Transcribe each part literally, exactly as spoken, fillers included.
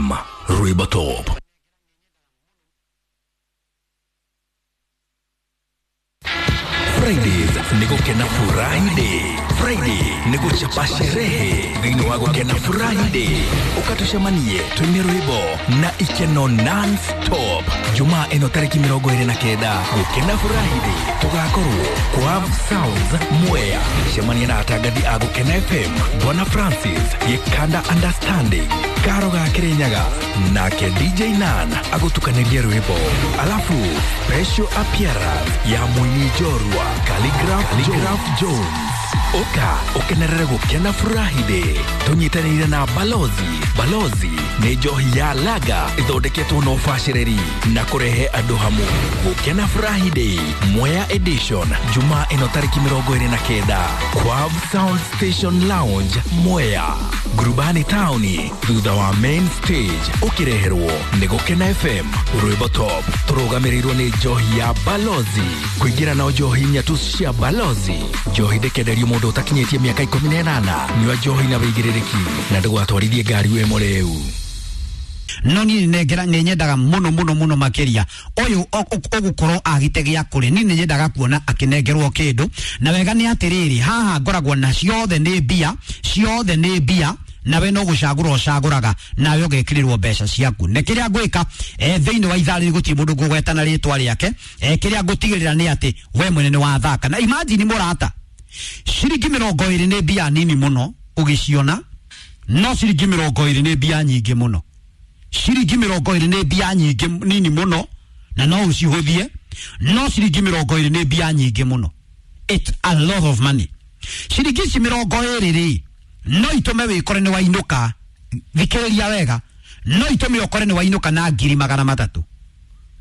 F M, Rwimbo Top. Fridays ni gukena Friday. Friday ni guchapa sherehe thĩinĩ wa gukena Friday. Ũkatũcemanie twĩne rwĩmbo na ikeno non-stop. Jumaa ĩno tarĩki mĩrongo ĩrĩ na kenda, gukena Friday tũgakorwo kwa Sounds Mwea. Cemania na atangathi a Gukena F M, Bwana Francis Gĩkanda, Understanding Karo ga Kirinyaga, nake D J Nan agũtukanĩrie rwĩmbo, alafu special appearance ya mũini njorua Khaligraph, Khaligraph Jones. Ũka ũkenerere gũkena Friday tũnyitanĩire na Balozi. Balozi nĩ njohi ya lager ĩthondeketwo na ũbacĩrĩri na kũrehe andũ hamwe. Gũkena Friday Mwea edition, Jumaa ĩno tarĩki mĩrongo ĩrĩ na kenda, Quav Sound Station Lounge, Mwea, Ngurubani taũni, thutha wa main stage. Ũkĩreherwo nĩ Gũkena F M, Rwĩmbo Top, tũrũgamĩrĩirwo nĩ njohi ya Balozi. Kũingĩra na njohi nyatu cia Balozi. Njohi ndĩkenderio mũndũ ũtakinyĩtie mĩaka ikũmi na ĩnana. Nyua njohi na wĩigĩrĩrĩki na ndũgatwarithie ngari wĩ mũrĩu. No niĩ nengera nĩ nyendaga mũno mũno mũno makĩria ũyũ ũgũkorwo agite gĩa kũrĩ niĩ nĩ nyendaga kuona akĩnengerwo kĩndũ. Na wega nĩ atĩrĩrĩ, haha ngoragwo na ciothe nĩ mbia, ciothe nĩ mbia, nawe no gũcagũra ũcagũraga nawe ũgekĩrĩrwo mbeca ciaku. Nĩ kĩrĩa ngwĩka eh, thĩinĩ wa ithaa rĩrĩ, gũtirĩ mũndũ ngũgweta na rĩtwa rĩake. eh, kĩrĩa ngũtigĩrĩra nĩ atĩ we mwene nĩ wathaka. Na imagine, mũrata, ciringi mĩrongo ĩrĩ nĩ mbia nini mũno ũgĩciona, no ciringi mĩrongo ĩrĩ nĩ mbia nyingĩ mũno. Ciringi mĩrongo ĩrĩ nĩ mbia nyingĩ nini mũno na no ũcihũthie, no ciringi mĩrongo ĩrĩ nĩ mbia nyingĩ mũno. It's a lot of money. Ciringi ici mĩrongo ĩrĩ rĩ, no itũme wĩkore nĩ wainũka, thikĩrĩria wega, no itũme ũkore nĩ wainũka na ngiri magana matatũ.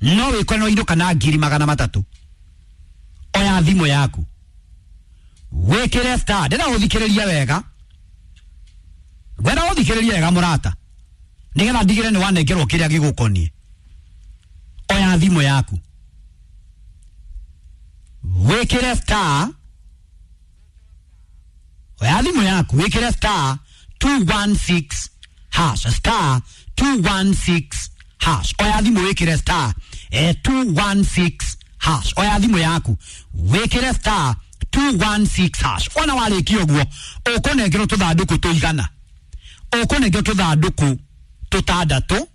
No wĩkore nĩ wainũka na ngiri magana matatũ. Oya thimũ yaku, wĩkĩre star. Ndĩra ũthikĩrĩrie wega, ngwenda ũthikĩrĩrie wega, mũrata, nĩgetha ndigĩre nĩ wanengerwo kĩrĩa gĩgũkoniĩ. Oya thimũ yaku, wĩkĩre star. Oya thimũ yaku, wĩkĩre star two one six hash, star two one six hash. Oya thimũ, wĩkĩre star eh, two one six hash. Oya thimũ yaku, wĩkĩre star two one six hash. Ona warĩkia ũguo, ũkũnengerwo tũthandũkũ tũigana, ũkũnengerwo tũthandũkũ tũtandatũ.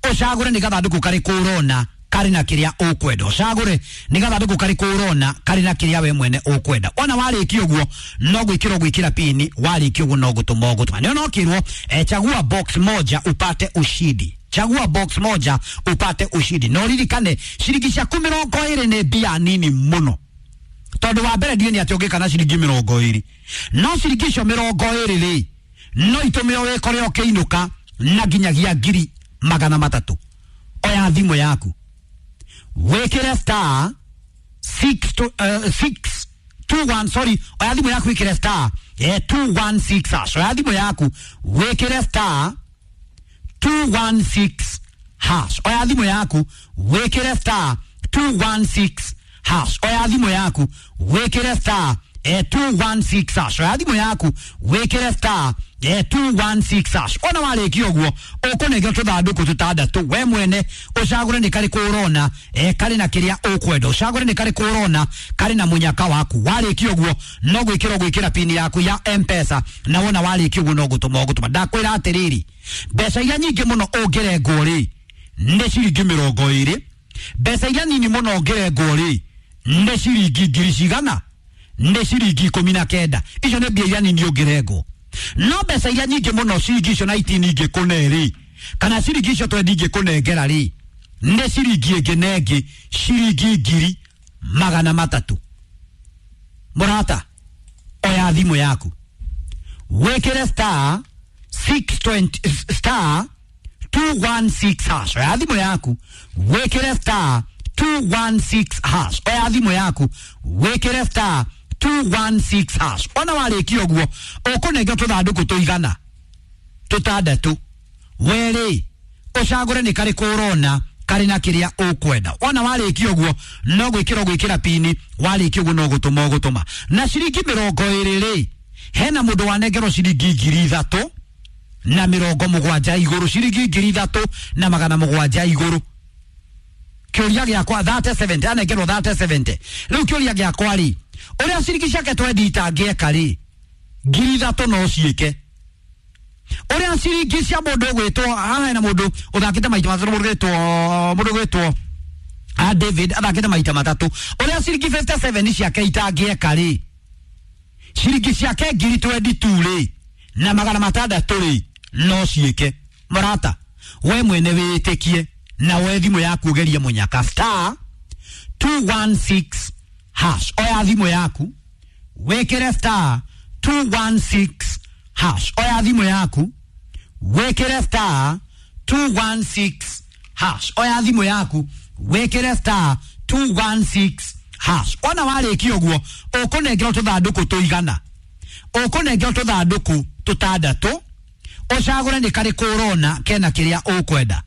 Ũcagũre nĩ gathandũkũ karĩkũ ũrona karĩ na kĩrĩa ũkwenda. Ũcagũre nĩ gathandũkũ karĩkũ ũrona karĩ na kĩrĩa we mwene ũkwenda. Ona warĩkia ũguo, no gwĩkĩra gwĩkĩra pini. Warĩkia ũguo, no gũtũma ũgũtũma. Nĩ onokĩrwo eh, chagua box moja upate ushindi, chagua box moja upate ushindi. No ririkane, ciringi ciaku mĩrongo ĩrĩ nĩ mbia nini mũno, tondũ wa mbere ndiĩ nĩ atĩ ũngĩka na ciringi mĩrongo ĩrĩ, no ciringi icio mĩrongo ĩrĩ rĩ, no itũme wĩkore ũkĩinũka na nginyagia ngiri magana matatũ. Oya thimũ yaku, wĩkĩre star six two, uh, six two one, sorry. Oya thimũ yaku, wĩkĩre star eh, two one six hash. Oya thimũ yaku, wĩkĩre star two one six hash. Oya thimũ yaku, wĩkĩre star two one six hash. Oya thimũ yaku, wĩkĩre star eh, two one six hash. Oya thimũ yaku, wĩkĩre star eh, two one six hash. Ona warĩkia ũguo, ũkũnengerwo tũthandũkũ tũtandatũ. We mwene ũcagũre nĩ karĩkũ ũrona eh, karĩ na kĩrĩa ũkwenda. Ũcagũre nĩ karĩkũ ũrona karĩ na mũnyaka waku. Warĩkia ũguo, no gwĩkĩra gwĩkĩra pini yaku ya M-Pesa, na wona warĩkia ũguo, no gũtũma ũgũtũma. Ndakwĩra atĩrĩrĩ, mbeca iria nyingĩ mũno ũngĩrengwo rĩ, nĩ ciringi mĩrongo ĩrĩ. Mbeca iria nini mũno ũngĩrengwo rĩ, nĩ ciringi ngiri cigana? Nĩ ciringi ikũmi na kenda. Icio nĩ mbia iria nini ũngĩrengwo. No mbeca iria nyingĩ mũno, ciringi icio nineteen ingĩkũne rĩ, kana ciringi icio twenty ingĩkũnengera rĩ, nĩ ciringi ĩngĩ na ĩngĩ ciringi ngiri magana matatũ. Mũrata, oya thimũ yaku, wĩkĩre star six twenty, star two one six hash. Oya thimũ yaku, wĩkĩre star two one six hash. Oya thimũ yaku, wĩkĩre star two one six hash. Ona warĩkia ũguo, ũkũnengerwo tũthandũkũ tũigana? Tũtandatũ. Werĩ ũcagũre nĩ karĩkũ ũrona karĩ na kĩrĩa ũkwenda. Ona warĩkia ũguo, no gwĩkĩra gwĩkĩra pini. Warĩkia ũguo, no gũtũma ũgũtũma. Na ciringi mĩrongo ĩrĩ rĩ, hena mũndũ wanengerwo ciringi ngiri ithatũ. na mĩrongo mũgwanja igũrũ, ciringi ngiri ithatũ na magana mũgwanja igũrũ. Kĩũria gĩakwa thate seventy, anengerwo thate seventy. Rĩu kĩũria gĩakwa rĩ, ũrĩa ciringi ciake twendi itangĩeka rĩ, ngiri ithatũ no ciĩke. Ũrĩa ciringi cia mũndũ ũgwĩtwo haha, hena mũndũ ũthakĩte maita matatũ, mũndũ ũgwĩtwo mũndũ ũgwĩtwo a David athakĩte maita matatũ. Ũrĩa ciringi fifty seven ciake itangĩeka rĩ, ciringi ciake ngiri twenty two rĩ na magana matandatũ rĩ no ciĩke. Mũrata, we mwene wĩtĩkie na we thimũ yaku ũgerie mũnyaka star two one six hash. Oya thimũ yaku wĩkĩre star two one six hash. Oya thimũ yaku wĩkĩre star two one six hash. Oya thimũ yaku wĩkĩre star two one six hash. Wona warĩkia ũguo ũkũnengerwo tũthandũkũ tũigana, ũkũnengerwo tũthandũkũ tũtandatũ, ũcagũre nĩ karĩkũ ũrona kena kĩrĩa ũkwenda.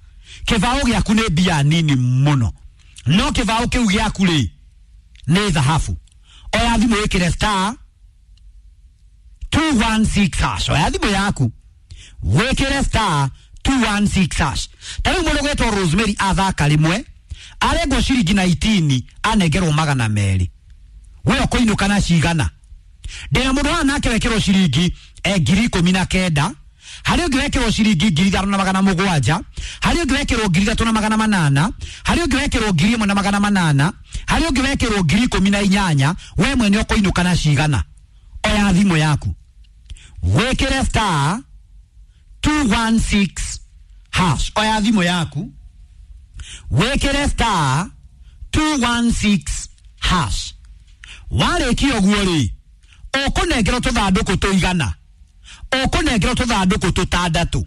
Kĩbaũ gĩaku nĩ mbia nini mũno, no kĩbaũ kĩu gĩaku rĩ nĩ thahabu. Oya thimũ wĩkĩre star two one six hash. Oya thimũ yaku wĩkĩre star two one six hash. Ta rĩu mũndũ ũgwĩtwo Rosemary athaka rĩmwe arengwo ciringi nineteen anengerwo magana merĩ, we ũkũinũka na cigana? Ndĩna mũndũ haha nake wekĩrwo ciringi eh, ngiri ikũmi na kenda, harĩ ũngĩ wekĩrwo ciringi ngiri ithano na magana mũgwanja, harĩ ũngĩ wekĩrwo ngiri ithatũ na magana manana, harĩ ũngĩ wekĩrwo ngiri ĩmwe na magana manana, harĩ ũngĩ wekĩrwo ngiri ikũmi na inyanya. We mwene ũkũinũka na cigana? Oya thimũ yaku wĩkĩre star two one six hash. Oya thimũ yaku wĩkĩre star two one six hash. Warĩkia ũguo rĩ, ũkũnengerwo tũthandũkũ tũigana, ũkũnengerwo tũthandũkũ tũtandatũ.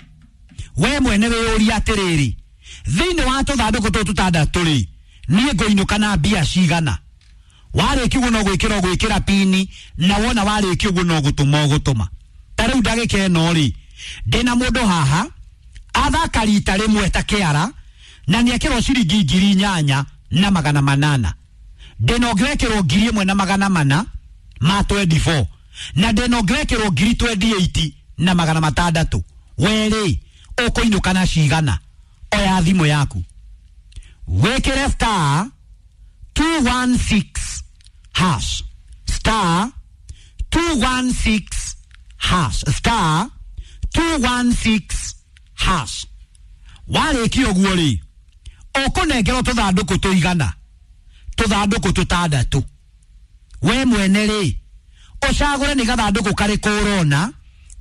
We mwene wĩyũrie atĩrĩrĩ, thĩinĩ wa tũthandũkũ tũtũ tũtandatũ rĩ, niĩ ngũinũka na mbia cigana? Warĩkia ũguo no gwĩkĩra ũgwĩkĩra pini, na wona warĩkia ũguo no gũtũma ũgũtũma. Ta rĩu ndagĩka ĩno rĩ, ndĩna mũndũ haha athaka rita rĩmwe ta kĩara na nĩekĩrwo ciringi ngiri inyanya na magana manana. Ndĩna ũngĩ wekĩrwo ngiri ĩmwe na magana mana ma twenty four, na ndĩna ũngĩ wekĩrwo ngiri twenty eight na magana matandatũ. We rĩ ũkũinũka na cigana? Oya thimũ yaku wĩkĩre star two one six hash, star two one six hash, star two one six hash. Warĩkia ũguo rĩ, ũkũnengerwo tũthandũkũ tũigana, tũthandũkũ tũtandatũ. We mwene rĩ, ũcagũre nĩ gathandũkũ karĩkũ ũrona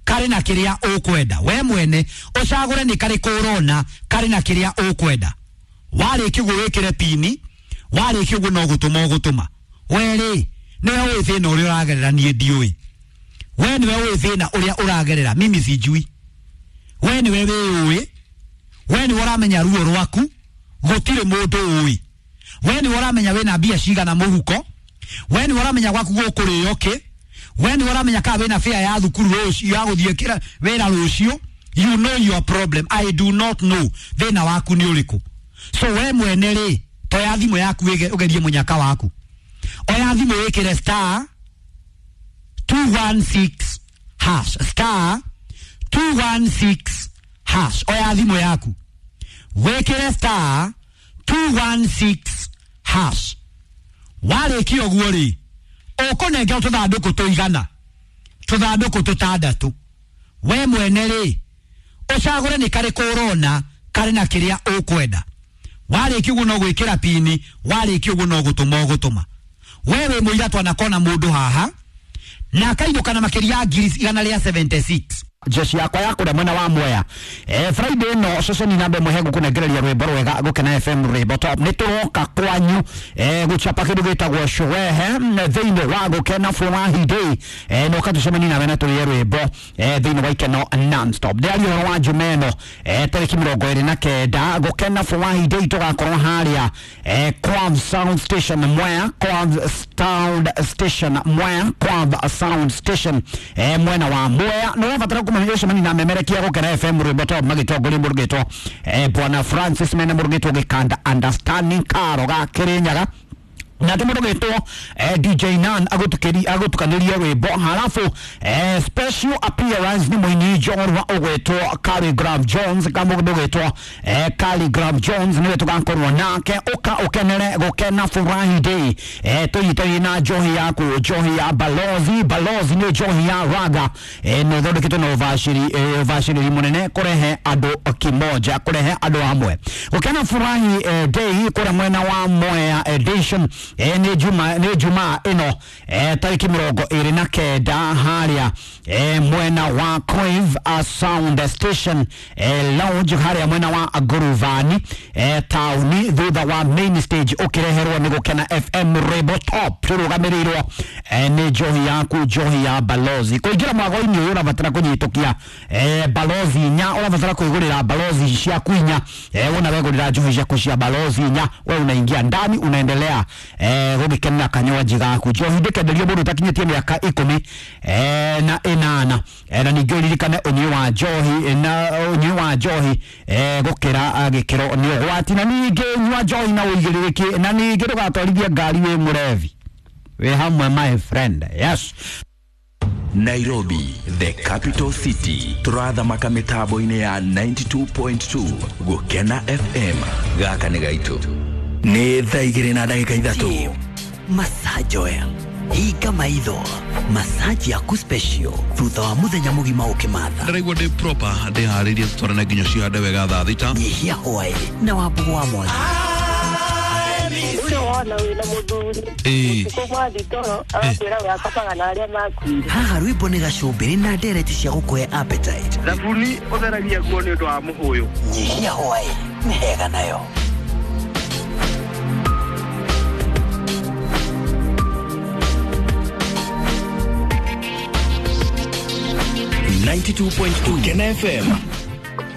karĩ na kĩrĩa ũkwenda. We mwene ũcagũre nĩ karĩkũ ũrona karĩ na kĩrĩa ũkwenda. Warĩkia ũguo wĩkĩre pini, warĩkia ũguo no gũtũma ũgũtũma. We rĩ, nĩwe ũĩ thĩna ũrĩa ũragerera, niĩ ndiũĩ. We nĩwe ũĩ thĩna ũrĩa ũragerera, mimi sijui. We nĩwe wĩũĩ, we nĩwe ũramenya ruo rwaku, gũtirĩ mũndũ ũĩ. We nĩwe ũramenya wĩna mbia cigana mũhuko, we nĩwe ũramenya gwaku gũkũrĩo kĩ, we nĩwe ũramenya kana wĩna fare ya thukuru rũciũ ya gũthiĩ kĩra wĩra rũciũ. You know your problem, I do not know thĩna waku nĩ ũrĩkũ. So we mwene rĩ, toya thimũ yaku ũgerie mũnyaka waku. Oya thimũ wĩkĩre star two one six hash, star two one six hash. Oya thimũ yaku wĩkĩre star two one six hash. Warĩkia ũguo rĩ, ũkũnengerwo tũthandũkũ tũigana, tũthandũkũ tũtandatũ. We mwene rĩ, ũcagũre nĩ karĩkũ ũrona karĩ na kĩrĩa ũkwenda. Warĩkia ũguo no gwĩkĩra pini, warĩkia ũguo no gũtũma ũgũtũma. We wĩ mũira twanakona mũndũ haha na akainũka na makĩria ya ngiri igana rĩa seventy six. Jeshi yakwa ya kũrĩa mwena wa Mwea. Eh, Friday no ceceni namba ĩmwe hegũkũnengereria rwĩmbo rwega Gũkena F M rwĩmbo top. Nĩ tũroka kwanyu eh, gũchapa kĩndũ gĩtagwo sherehe thĩinĩ wa Gũkena Furahi Day. Eh, no katũcemanie nawe na tũrĩe rwĩmbo eh, thĩinĩ wa Ikeno non-stop. Ndĩraria ũhoro wa Jumeno eh, tarĩki mĩrongo ĩrĩ na kenda Gũkena Furahi Day tũgakorwo harĩa eh, Quav Sound Station Mwea, Quav Sound Station Mwea, Quav Sound Station eh, mwena wa Mwea. Nĩ ũrabatara kũmenya ũcemanie na memerekia Gũkena F M rwĩmbo top magĩtongoria mũrugĩtwo eh, Bwana Francis mene mũrugĩtwo Gĩkanda Understanding Karo ga Kĩrĩnyaga. Nake mũndũ gwĩtwo eh, D J Nan agũtukĩri agũtukanĩria rwĩmbo, halafu eh, special appearance nĩ mũini njorua ũgwĩtwo Khaligraph Jones. Kamũndũ gwĩtwo eh, Khaligraph Jones nĩwe tũgakorwo nake. Ũka ũkenere gũkena Furahi Day, eh, tũnyitanie na njohi yaku, njohi ya Balozi. Balozi nĩ njohi ya raga, eh, nĩ ĩthondeketwo na ũbacĩri eh, ũbacĩrĩri mũnene kũrehe andũ kimoja, kũrehe andũ hamwe gũkena Furahi eh, Day kũrĩa mwena wa Mwea Edition. eh, nĩ juma nĩ juma ĩno, eh, tarĩki mĩrongo ĩrĩ na kenda, harĩa eh, mwena wa Crave uh, Sound Station eh, Lounge, harĩa mwena wa Nguruvani eh, taũni, thutha wa main stage, ũkĩreherwo nĩ Gũkena F M Rebo Top, tũrũgamĩrĩirwo eh, nĩ njohi yaku, njohi ya Balozi. Kũingĩra mwago-inĩ ũyũ ũrabatara kũnyitũkia eh, Balozi inya, ũrabatara kwĩgũrĩra Balozi ciaku inya. eh, wona wegũrĩra njohi ciaku cia Balozi inya, we unaingia ndani, unaendelea eh, gũgĩkenera kanywaji gaku. Njohi ndĩkenderio mũndũ ũtakinyĩtie mĩaka ikũmi eh, na ĩnana. eh, na ningĩ ũririkane ũnyui wa njohi na ũnyui wa njohi eh, gũkĩra ah, gĩkĩro nĩ ũgwati, na ningĩ nyua njohi na ũigĩrĩrĩki, na ningĩ ndũgatwarithie ngari wĩ mũrevi. Wĩ hamwe, my friend. Yes. Nairobi, the capital city, turathamaka mitambo-inĩ ya ninety-two point two Gũkena F M. Gaka nĩ gaitũ. Nĩ thaa igĩrĩ na ndagĩka ithatũ. Massage oil, hinga maitho, massage yaku special thutha wa muthenya mugima ukimatha. Ndĩraigua ndĩ proper, ndĩharĩrie tũtwarane nginya cihande wega thaa thita. Nyihia hwaĩ na Wambugu wa Mwangi. Ũcio wona wĩna mũthuri, Ĩĩ. ũtukũ mwathi toro agakwĩra we akomaga na arĩa makuire. Haha rwĩmbo nĩ gacumbĩrĩ na ndereti cia gũkũhe appetite. Thabuni ũtheragia nguo nĩ ũndũ wa mũhũyũ. Nyihia hwaĩ nĩ hega nayo. ninety-two point two Gũkena F M.